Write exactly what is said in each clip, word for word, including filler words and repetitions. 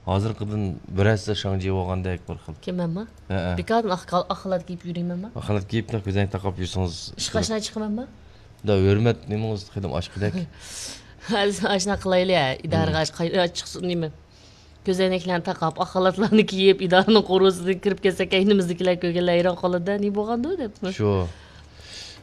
ھازىرقىدىن بىر ھەسسە شاڭجى بولغاندەك بىر خىل. كىم مەنما؟ ھەئە. بىكاردىن ئاق، ئاق خالات كىيىپ يۈرىمەنما؟ ئاق خالات كىيىپ، كۆزەڭ تاقاپ يۈرسىڭىز. ئىشقا ئاشنا چىقىمەنما؟ دا ھۆرمەت نېمىڭىز خېلىم ئاشقىدەك. ھازىر ئاشنا قىلايلى، ھە. ئىدارىغا ئاش-، قايرا چىقسۇن نېمە؟ كۆزەينەكلەرنى تاقاپ، ئاق خالاتلارنى كىيىپ، ئىدارىنىڭ قورۇسىدىن كىرىپ كەتسەك، ئەينىمىزدىكىلەر كۆرگەنلەر ھەيران قالىدۇ-دە، نېمە بولغاندۇ دەپ. شۇ.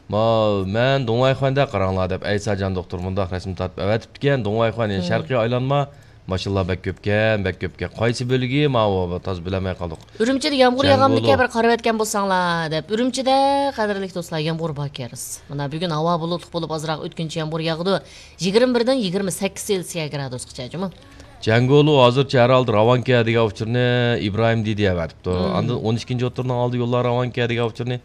ما، مەن دۇڭۋايخۇەندە قاراڭلار دەپ ئەيساجان دوختۇر مۇنداق رەسىم تارتىپ ئەۋەتىپتىكەن. دۇڭۋايخۇەن، يەنى شەرقىي ئايلانما، ماشىنىلار بەك كۆپكەن، بەك كۆپكەن. قايسى بۆلۈگى؟ ماۋۇ تازا بىلەلمەي قالدۇق. ئۈرۈمچىدە يامغۇر ياغامدىكەن، بىر قارىۋەتكەن بولساڭلار دەپ. ئۈرۈمچىدە، قەدىرلىك دوستلار، يامغۇر بار كەرس. مانا بۈگۈن ھاۋا بۇلۇتلۇق بولۇپ، ئازراق ئۆتكۈنچى يامغۇر ياغىدۇ. يىگىرمە بىردىن يىگىرمە سەككىز سېلسىيە گرادۇسقىچە، جۇمۇ. جەڭگولۇ ھازىرچە ھەر ھالدا راۋانكەن دېگەن ئۇچۇرنى ئىبراھىم دېدى ئەۋەتىپتۇ. ئاندىن ئون ئىككىنچى ئوتتۇرىنىڭ ئالدى يوللار راۋانكەن دېگەن ئۇچۇرنى،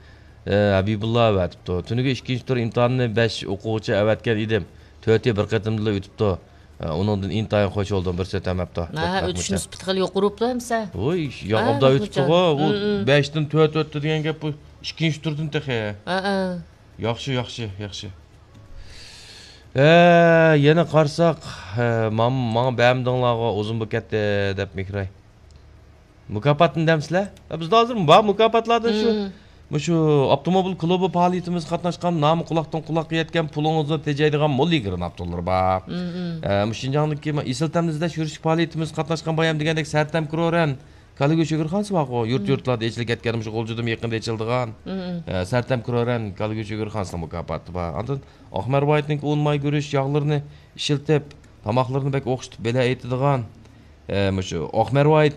ئە، ھەبىبۇللا ئەۋەتىپتۇ. تۈنۈگۈن ئىككىنچى تۈر ئىمتىھانىنى بەش ئوقۇغۇچى ئەۋەتكەن ئىدىم. تۆتى بىر قېتىمدىلا ئۆتۈپتۇ. ئە، ئۇنىڭدىن ئىنتايىن خۇش بولدۇم. بىر سۆتەم ئەپتۇ. ھە، ھە، ئۆتۈش نىسبىتى خېلى يۇقىرى بولۇپتۇ ئەمسە. ۋوي، ھە، ياقۇپدا ئۆتۈپتىغۇ. ئۇ بەشتىن تۆت ئۆتتى دېگەن گەپ بۇ ئىككىنچى تۈردىن تېخى. ھە، ھە. ياخشى، ياخشى، ياخشى. ھە، يەنە قارىساق، ھە، مام-، ماڭا بەرمىدىڭلارغۇ، ئۇزۇن بولۇپ كەتتى، دەپ مېھراي. مۇكاپاتنى دەمسىلەر؟ ھە، بىزدە ھازىر بار مۇكاپاتلاردىن شۇ. مۇشۇ ئاپتوموبىل كۇلۇبى پائالىيىتىمىزگە قاتناشقان، نامى قۇلاقتىن قۇلاققا يەتكەن، پۇلىڭىزنى تېجەيدىغان مول يىگىرمە ئاپتوللار بار. ھە، مۇشۇ شىنجاڭدىكى ئېسىل تەمنى ئىزدەش يۈرۈشلۈك پائالىيىتىمىزگە قاتناشقان بايام دېگەندەك سەرتەم كرورەن كالا گۆش ئۆگرىخانىسى بارغۇ، يۇرت-يۇرتلاردا ئېچىلىپ كەتكەن، مۇشۇ غۇلجىدىمۇ يېقىندا ئېچىلىدىغان. ھە، سەرتەم كرورەن كالا گۆش ئۆگرىخانىسىنىڭ مۇكاپاتى بار. ئاندىن ئاقمەر ۋايىتنىڭكى ئۇن ماي گۈرۈچ ياغلىرىنى ئىشلىتىپ، تاماقلىرىنى بەك ئوخشىتىپ بېلەت ئېيتىدىغان، ئە، مۇشۇ ئاقمەر ۋايىت،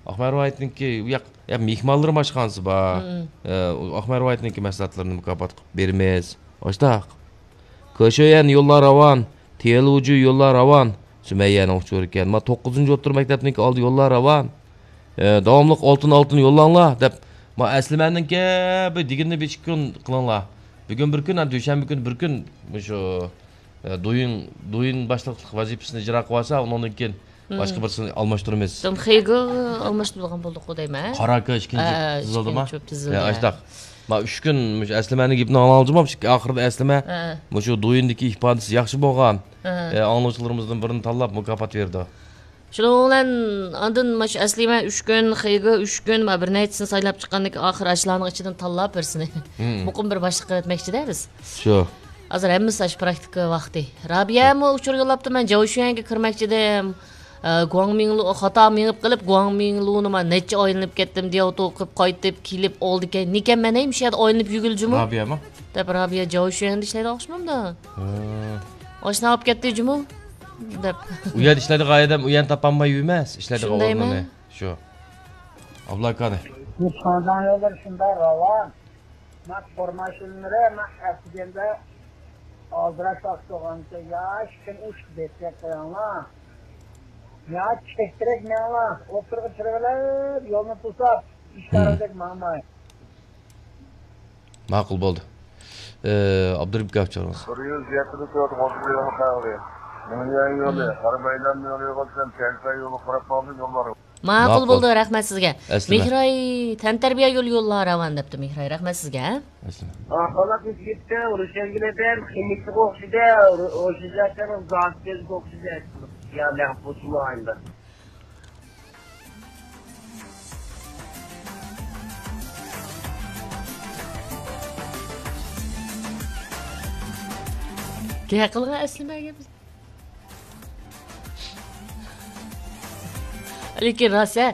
ئاقمەر ۋايىتنىڭكى ياق، ياق، مېھمانلىرىم ئاشخانىسى بار. ئە، ئاقمەر ۋايىتنىڭكى مەھسۇلاتلىرىنى مۇكاپات قىلىپ بېرىمىز. ئاشتاق. كۆشۆيەن يوللار راۋان، تيەنلۇجۈ يوللار راۋان. سۈمەييەنىڭ ئۇچۇرى ئىكەن. ما توققۇزىنچى ئوتتۇرا مەكتەپنىڭكى ئالدى يوللار راۋان. ئە، داۋاملىق ئالتۇن، ئالتۇن يوللاڭلار دەپ. ما ئەسلىمەنىڭكى بۇ دېگىنىنى بىر ئىككى كۈن قىلىڭلار. بۈگۈن بىر كۈن، ھە، دۈشەنبە كۈنى بىر كۈن مۇشۇ، ئە، دۇيىن، دۇيىن باشلىقلىق ۋەزىپىسىنى ئىجرا قىلىۋالسا، ئۇنىڭدىن كېيىن باشقا بىرسىنى ئالماشتۇرىمىز. خېيگې ئالماشتۇرىدىغان بولدۇققۇ دەيمەن. قاراكا ئىككىنچى تىزىلدىما؟ ھە، ئاشتاق. ما ئۈچ كۈن مۇشۇ ئەسلىمەنىڭ گېپىنى ئاڭلاڭلىجىما؟ ئاخىرىدا ئەسلىمە مۇشۇ دۇيىندىكى ئىپادىسى ياخشى بولغان، ئە، ئاڭلىغۇچىلىرىمىزدىن بىرىنى تاللاپ مۇكاپات بېرىدۇ. شۇنىڭ بىلەن ئاندىن مانا شۇ ئەسلىمە ئۈچ كۈن، خېيگې ئۈچ كۈن، مانا بىر نەچچىسىنى سايلاپ چىققاندىن كېيىن ئاخىر ئاشۇلارنىڭ ئىچىدىن تاللاپ بىرسىنى مۇقىم بىر باشلىق قىلىۋەتمەكچىدە بىز. شۇ. ھازىر ھەممىسى ئاشۇ پراكتىكا ۋاقتى. رابىيەمۇ ئۇچۇر يوللاپتۇ، مەن جاۋشۈەنگە كىرمەكچىدىم. ئە، گۇاڭمىڭلۇ، خاتا مېڭىپ قېلىپ، گۇاڭمىڭلۇنى مانا نەچچە ئايلىنىپ كەتتىم، دىياۋتو قىلىپ قايتىپ كېلىپ ئالدىكەن. نېكەن مەن ھەي مۇشۇ يەردە ئايلىنىپ يۈرگىلى جۇمۇ؟ رابىيەمۇ؟ دەپ رابىيە جاۋشۈەندا ئىشلەيدىغان ئوخشىمامدۇ؟ ھە. ئاشنا بولۇپ كەتتى جۇمۇ دەپ. ئۇ يەردە ئىشلەيدىغان ئادەم ئۇ يەرنى تاپالماي يۈرمەس، ئىشلەيدىغان ئورنىنى. شۇ. ئابلا ئاكانى. بۇ شىنجاڭ يوللىرى شۇنداق راۋان. مەن تور ماشىنىلىرى مەن ئەتىگەندە ئالدىراش ۋاقىت بولغاندا يا ئىككىنى ئۇچ بېسىپ قويۇڭلار. يا چەكتىرەك مېڭىڭلار. ئوتتۇرىغا چىرىۋېلىپ يولنى توساپ، ئىشارەتلەپ ماڭماي. ماقۇل بولدى. ئابدۇرېھىم ئاكا چاغىرىڭىز. بىر يۈز يەتمىش تۆت غوزى يولى قەغىلى. مىڭيۈەن يولى، غەربىي ئايلانما يولى بولسا، تيەنشەن يولى قاراپ ماڭدى يوللار. ماقۇل بولدى، رەھمەت سىزگە. مېھراي، تەنتەربىيە يولى يوللار راۋان دەپتۇ مېھراي، رەھمەت سىزگە. ئەسلىمە. ئاقالات ئۆتۈپ كەتتى، ئۇرۇشەنگىلەردە خىمىككىغا ئوخشىدى، ئوشۇجاكەنىڭ زاكىزغا ئوخشىدى. يا مەغپۇسۇللا ئايندا. گەپ قىلغان ئەسلىمەگە بىز. لېكىن راست، ھە.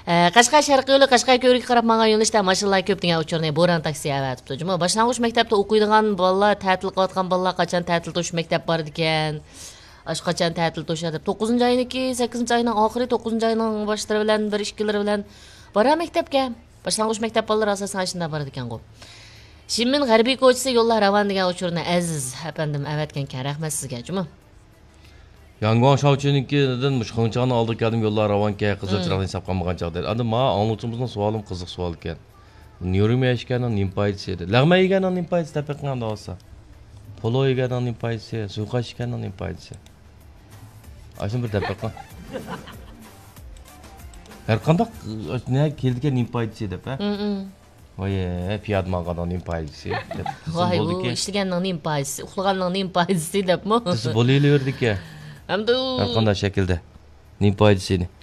ئە، قەشقەر شەرقىي يولى قەشقەر كۆۋرۈككە قاراپ ماڭغان يۆنىلىشتە ماشىنىلار كۆپ دېگەن ئۇچۇرنى بوران تاكسى ئەۋەتىپتۇ. جۇمۇ، باشلانغۇچ مەكتەپتە ئوقۇيدىغان بالىلار، تەتىل قىلىۋاتقان بالىلار قاچان تەتىل توشۇش مەكتەپ بارىدىكەن؟ ئاشۇ قاچان تەتىل توشۇش دەپ، توققۇزىنچى ئاينىڭكى، سەككىزىنچى ئاينىڭ ئاخىرى، توققۇزىنچى ئاينىڭ باشلىرى بىلەن، بىر ئىككىلىرى بىلەن بارا مەكتەپكە. باشلانغۇچ مەكتەپ بالىلىرى ئاساسەن ئاشۇنداق بارىدىكەنغۇ. شىنمىن غەربىي كوچىسى يوللار راۋان دېگەن ئۇچۇرنى ئەزىز ئەپەندىم ئەۋەتكەنكەن. رەھمەت سىزگە، جۇمۇ. ياڭگۇاڭ شاۋچۈنىڭكىدىن مۇشۇ خېڭچاڭنىڭ ئالدىغا كەلدىم، يوللار راۋانكەن، قىزىل چىراغنى ھېساب قىلمىغان چاغدا. ئاندىن ماڭا ئاڭلىغۇچىمىزنىڭ سوئالىمۇ قىزىق سوئال ئىكەن. نيۇرما يېگەننىڭ نېمە پايدىسى دېدى. لەغمەن يېگەننىڭ نېمە پايدىسى دەپ بېقىڭ ئەمدى بولسا. پولۇ يېگەننىڭ نېمە پايدىسى، سۇيىقاس ئىچكەننىڭ نېمە پايدىسى. ئاشۇنى بىر دەپ بېقىڭ. ھەر قانداق، نە كېلىدىكەن نېمە پايدىسى دەپ، ھە؟ ۋاي، پىيادە ماڭغاننىڭ نېمە پايدىسى دەپ دېسە ۋاي، بۇ بولىدىكەن. ئىشلىگەننىڭ نېمە پايدىسى، ئۇخلىغاننىڭ نېمە پايدىسى دەپمۇ؟ دېسە بولۇۋېرىدىكەن. ئەمدى ئۇ ھەر قانداق شەكىلدە. نېمە پايدىسى؟